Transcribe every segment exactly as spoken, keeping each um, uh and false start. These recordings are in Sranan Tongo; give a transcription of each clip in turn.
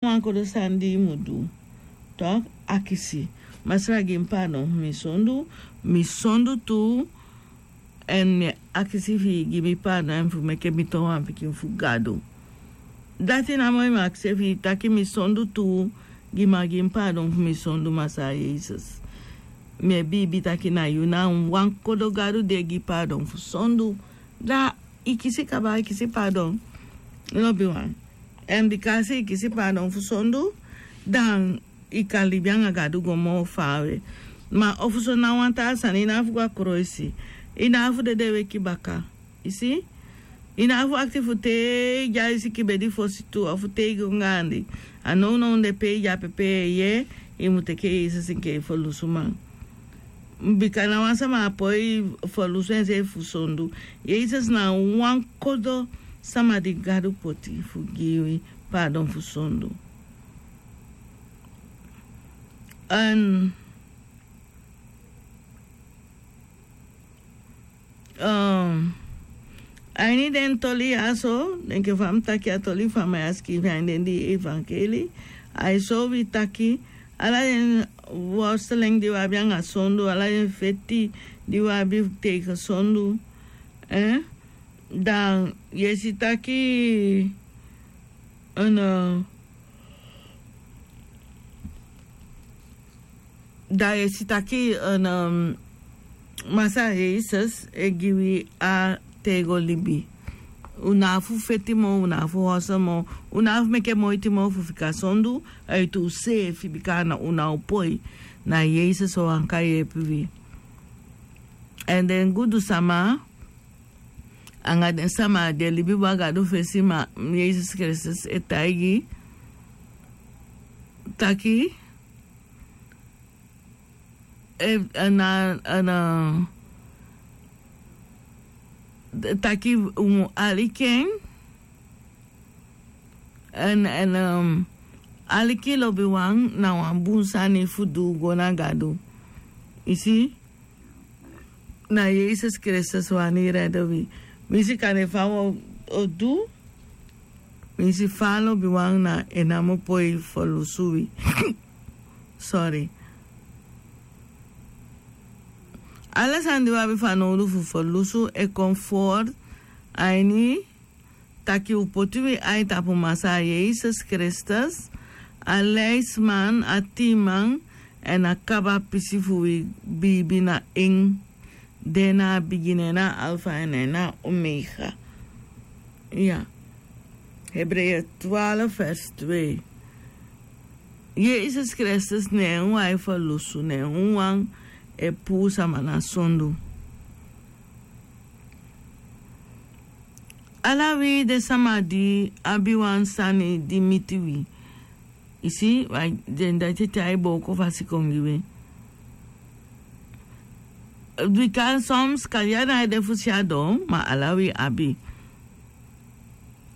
wan kodo sani di i mu du. Tok' akisi: Masra, gi mi paadon fu mi sondu. Mi sondu tu. Èn mi e akisi fi i gi mi paadon èn fu meke mi toon wan pikin fu Gadu. Dati namo i mu akisi fi i taki mi sondu tu. Gi mi, gi mi paadon fu mi sondu, Masra Yesus. Mi e biibi taki na yu na wan kodo Gadu di e gi paadon fu sondu. Da i kisi kaba, i kisi paadon. Lobiwan. Èn bika a si i kisi paadon fu sondu, dan i kan libi anga Gadu go moo faawe. Ma ofuso na wan taa sani, i no abi fu go a koloisi. I no abi fu dede weki baka. I si? I no abi fu akti fu te i de a i siki bedi fosi tu, ofu te i go gaandi. A nownow de pe i de ape, pe i e yee, i mu teke Yesus enke i ferlusuman. Bika na wan sama á poi ferlusu enseefi fu sondu. Yesus na wan kodo sama di Gadu poti fu gi wi paadon fu sondu. Èn, um, a ini den toli ya so, enke fa mi taki, a toli fa mi e sikiifi a ini den dii evangelie, ai soi wi taki ala den worsteling di wi abi anga sondu, ala den feti di wi abi tegen sondu, eh, dan yu e si taki, en, eh, dan yu e si taki, en, um, Masra Yesus e gi wi a tego libi. Un no abi fu feti moo, un no abi fu horsel moo, un no abi fu meke moiti moo fu fika sondu, a yu tu seefi, bika na un no o poi. Na Yesus o waka yeepi wi. Èn den gudu sama anga den sama di e libi bun a Gadu fesi, ma Yesus Kristus e taigi taki, e, e, na, e, na, taki un mu aliki en. Èn, èn, um, aliki lobiwan na wan bun sani fu du go na Gadu. I si? Na Yesus Kristus wani rede wi. Mi si kande fa wi o du. Mi si fa lobiwan na en namo poi ferlusu wi. Sorry. Ala sani di wi abi fanowdu fu ferlusu e kon fu a ini taki un poti wi ai tapu Masra Yesus Kristus, a leisman, a tiiman, èn a kaba pisi fu wi biibi na en. Den na a bigin, en na a Alfa èn en na a Omega. Ya. Hebreeën twaalf vers twee. Yesus Kristus, ne en wan e ferlusu, ne en wan e puu sama na sondu. Ala wi den sama di abi wan sani di miti wi. I si, wan den dati e tyai booko fasi kon gi wi. Bika soms kan yu a no e de fu si a don, ma ala wi abi.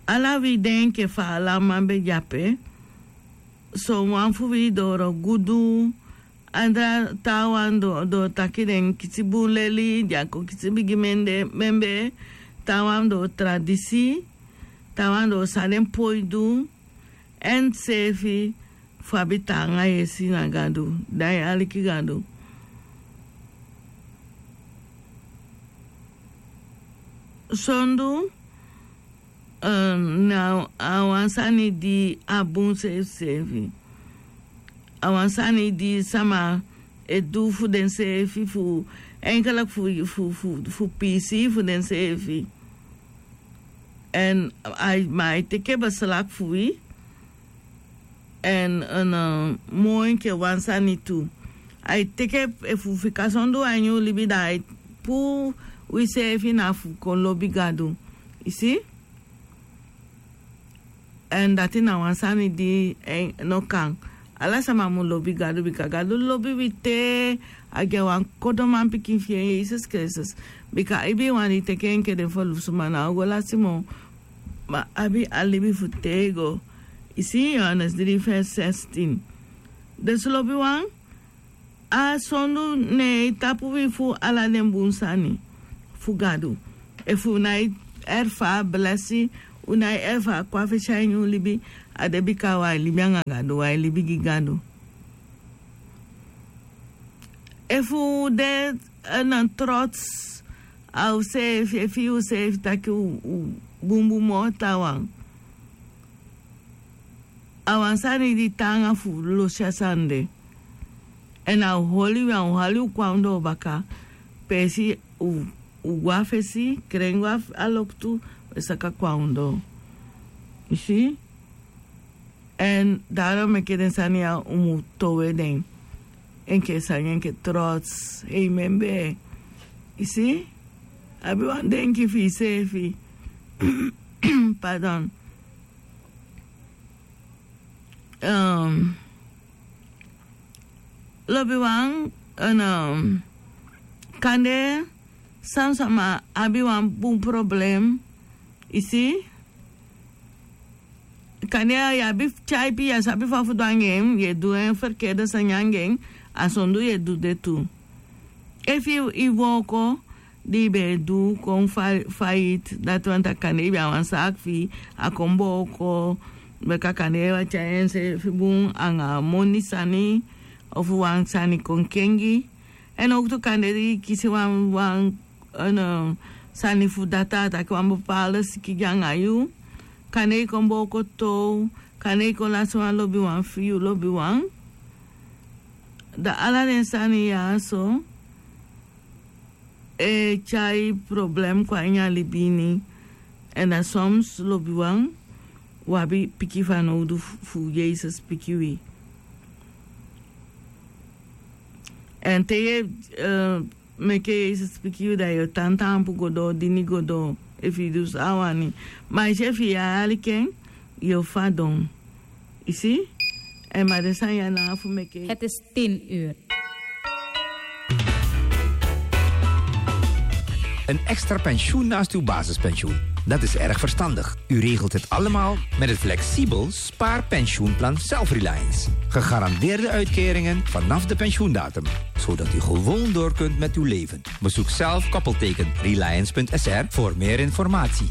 Ala wi de enke fa a lanman be de ape. Son wan fu wi doro gudu, andra, taawan doro taki den kisi bun leli, den kon kisi bigi membee, taawan doro tradisi, taawan doro san den poi du, èn seefi fu abi taanga yesi na Gadu, da yu aliki Gadu. Sondu, eh, na a wan sani di a bun seefi seefi. A wan sani di sama e du fu denseefi, fu, enkelek fu, fu, fu, fu piisii fu denseefi. Èn ai, ma ai teke beslak fu wi. Èn, èn, eh, moo enke wan sani tu. Ai teke, efu wi fika sondu a ini wi libi, da ai puu wiseefi na fu kon lobi Gadu. I si? Èn dati na wan sani di, eh, no kan. Ala sama mu lobi Gadu, bika Gadu lobi wi te a gi a wan kodo manpikin fi en, Yesus Kristus. Bika ibiwan di teke en enke den ferlusuman, a o go lasi moo, ma abi a libi fu tego. I si Yohanes dri vers zestien. Dus lobiwan, a sondu ne e tapu wi fu ala den bun sani fu Gadu. Efu wi nái erfari blesi, Un na e efu a kon a fesi a ini un libi. A de bika wan e libi anga gadu wan e libi gi gadu. Efu un de na trots a useefi e fii useefi taki un bun bun moo tan wan. A wan sani di taanga fu losi a sani de. Èn a o holi wi a o hali un kon a ondoo baka. Peesi un go a fesi kren go a loktu. Un e saka kon a ondoo. Yu si? Èn daro meke den sani ya un mu towe den. Enke sani enke trots hei membee. Yu si? Abi wan denki fu yuseefi. Pardon. Lobiwan, kande san sama abi wan bun problem. Yu si? Kande yu abi tyaipi yu a sabi fa fu du anga en yu e du en ferkerde sani anga en. A sondu yu e du de tu. Efu yu wooko di yu ben e du kon faiti dati wani taki kande yu ben a wan saaki fi yu a kon booko. Bika kande yu a tyai enseefi bun anga moni sani ofu wan sani kon kengi. Èn owktu kande di yu kisi wan wan sani fu data a taki wan bepaalde siki gi anga yu. Kande yu kon booko tow. Kande yu kon lasi wan lobiwan fi yu lobiwan. Dan ala den sani ya so e tyai problem kon a ini a libi ini. Èn dan soms lobiwan wi abi piki fanowdu fu yesus piki wi. Èn te yu e meke yesus piki yu dan yu o tan taampu go doo dini go doo. Efu yu du san a wani ma yu si efu yu e aliki en yu o fadon. Yu si? Èn ma den sani ya na a fu meke yu. Een extra pensioen naast uw basispensioen. Dat is erg verstandig. U regelt het allemaal met het flexibel spaarpensioenplan Self Reliance. Gegarandeerde uitkeringen vanaf de pensioendatum, zodat u gewoon door kunt met uw leven. Bezoek zelf koppelteken reliance punt s r voor meer informatie.